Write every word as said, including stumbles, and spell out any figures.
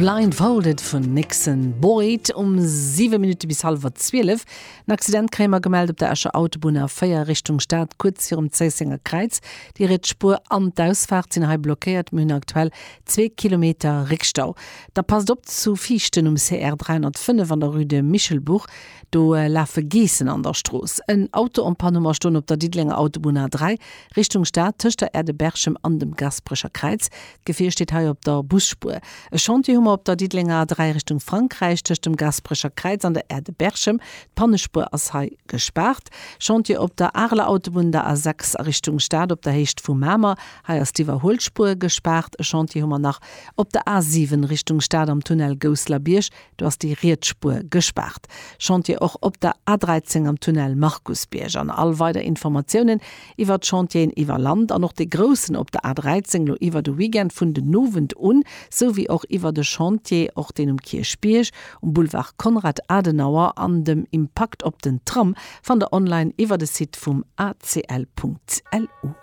Blindfolded vun Nixon Boyd um siwe Minutte bis hallwer zwielef. En Accident kréie mer gemellt op der Escher Autobunn A véier Richtung Stad, kuerz virum Zéissenger Kräiz. Déi riets Spuer an d'Ausfaart sinn hei blockéiert, mir hunn aktuell zwee Kilometer Réckstau. Da passt op zu Viichten um C R dräihonnertfënnef an der Rue de Michelbourg, do lafe Geessen an der Strooss. En Auto en panne hu mer stoen op der Diddelenger Autobunn A dräi Richtung Stad tëscht der Aire de Berchem an dem Gasperecher Kräiz. D'Gefier steet hei op der Busspuer. E Chantier hu mer op der Diddelenger A dräi Richtung Frankräich tëscht dem Gasperecher Kräiz an der Aire de Berchem. D'Pannespuer ass hei gespaart. Chantier op der Areler Autobunn der A sechs a Richtung Stad op der Héicht vu Mamer. Hei ass d'Iwwerhuelspuer gespaart. E Chantier hu mer nach op der A siwen Richtung Stad am Tunnel Gousselerbierg. Do ass déi riets Spuer gespaart. Chantier och op der A dräizéng am Tunnel Markusbierg. An all weider Informatiounen iwwer d'Chantieren iwwer Land an och de groussen op der A dräizéng lo iwwer de Weekend vun den Owend un, sou wéi och iwwer de Chantier och deen um Kierchbierg, um Boulevard Konrad Adenauer an dem Impakt op den Tram fannt der online iwwer de Site vum A C L Punkt L U.